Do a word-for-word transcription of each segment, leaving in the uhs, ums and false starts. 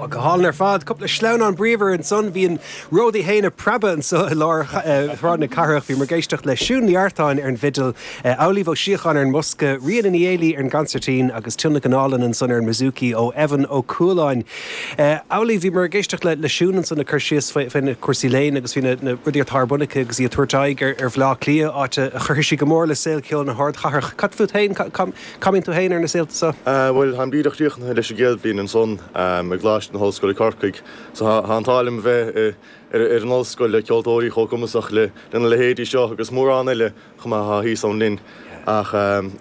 Ó, go hálainn ar fad. Cúpla sleamhnán bríomhar ansan. Bhí an ród í féin ag preabadh anso i lár Shráid na Cathrach. Bhíomar ag éisteacht le Siún Ní Artáin ar an bhfidil, Amhlaoibh Ó Síocháin ar an mbosca, Ríona Ní Éilí ar an gconsairtín agus tionlacan álainn ansan ar an mbouzouki ó Evan Ó Cualáin. Amhlaoibh, bhíomar ag éisteacht le Siún ansan ag cur síos faoi na cúrsaí léinn agus faoi na rudaí atá ar bun aici agus í ag tabhairt aghaidh ar Bhaile Átha Cliath, áit a chuirfidh sí go mór le saol ceoil na hardchathrach. Cad fút féin? Cá mbíonn tú féin ar na saolta seo? Bhuel, táim díreach críochnaithe leis an gcéad bhliain ansan i gColáiste na hOllscoile Corcaigh, so tá an t-ádh liom a bheith ar an ollscoil le ceoltóirí chomh cumasach lena leithéidí seo agus mórán eile chomh maith atá thíos ann linn. Ach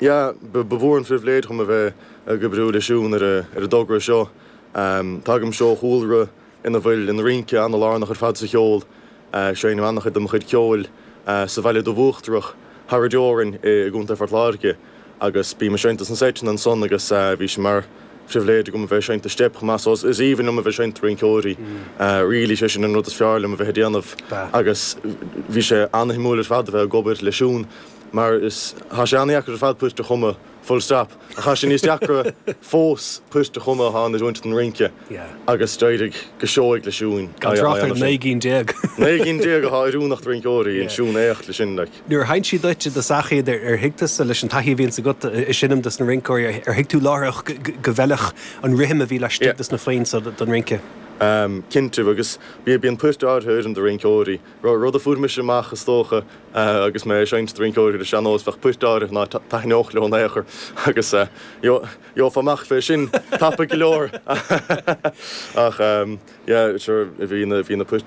yeah, ba mhór an phribhléid dhom a bheith ag oibriú le Siún ar an dtogra seo. Tagaimse ó chúlra ina bhfuil an rince an-lárnach ar fad sa cheol. Seinnim an-chuid de mo chuid ceoil sa Bhaile Dubh Uachtarach thar an dteorainn i gContae Phort Láirge agus bím ag seinnt sna seiteanna ansan agus bhí sé mar phribhléid agam a bheith ag seinnt do Steip chomh maith so is aoibhinn liom a bheith ag seinnt do rinceoirí. Really sé sin an rud is fearr liom a bheith ag déanamh agus bhí sé an-shuimiúil ar fad a bheith ag obair le Siún mar is tá sé an-dheacair ar fad poirt a chumadh full stop. Ach tá sé níos deacra fós poirt a chumadh atá in oiriúint don rince agus d'éirigh go seoigh le Siún. Gan trácht ar naoi gcinn déag. Naoi gcinn déag atá oiriúnach do rinceoirí, an Siún éacht le sin like. Nuair a sheinn sí duit i dtosach iad, ar thuig tusa leis an taithí a bhíonns agat ag seinm dos na rinceoirí, ar thuig tú láithreach go bhfeilfeadh an rithim a bhí laistigh dos na foinn so don rince? Cinnte, agus bíonn poirt áirithe a oireann do rinceoirí. Rud a fuair mise amach is dócha agus mé ag seinnt do rinceoirí ar an sean-nós, bheadh poirt áirithe ná taitneodh leo in aon chor agus gheofá amach fé sin tapaidh go leor. Ach yeah, sure, bhí na, bhí na poirt